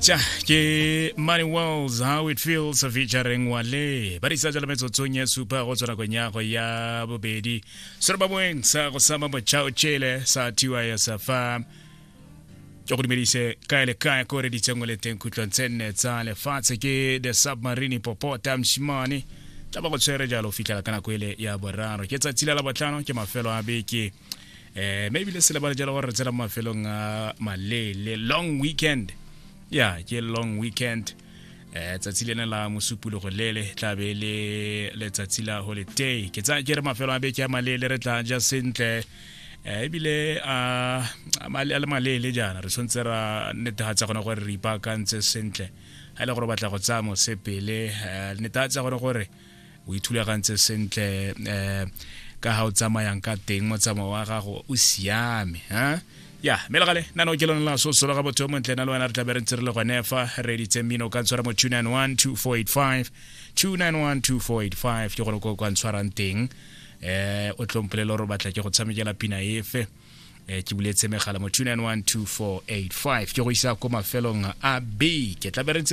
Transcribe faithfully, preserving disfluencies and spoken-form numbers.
Tja, ke Money Wells, How It Feels, featuring Wale. Ba disa jalo metsotsong ya supa go tswa nakong ya go ya bobedi. Serobamoeng sa go sama motšhao tšhele sa T Y S F M. Ke go dumedise kae le kae ko re ditseng le teng khutlong tse nne tsa lefatshe. Ke The Submarine Popota Mshimane tla ba go tshwere jalo fitlhela ka nako ele ya boraro. Ke tsatsi la Labotlhano, ke mafelo a beke, eh mme ebile se lebale jalo gore re tsena mo mafelong a malele, long weekend. Ya, ke long weekend. eh tsatsi lena la Mosupologo lele tla be le letsatsi la holiday. Ke tsaya ke re mafelo a beke a malele, re tla ja sentle, eh ebile a a le malele jaana re tshwanetse ra netefatsa gone gore re ipaakantse sentle. Ga e le gore o batla go tsaya mosepele, eh, netefatsa gone gore o ithulagantse sentle, um ka ga o tsamayang ka teng, motsamao wa gago o siame ha. Ya, mme le gale nano ke lone la sosolo ga botho yo montle. Na le wena re tla be re ntse re le gone fa re editse mmino. O ka ntshwara mo two nine one, two four eight five, two nine one, two four eight five ke gone ko kwa ntshwarang teng. eh o tlompolele gore o batla ke go tshamekela pina efe. eh ke buletse megala mo two nine one, two four eight five, ke go isa ko mafelong a beke tla be re ntse.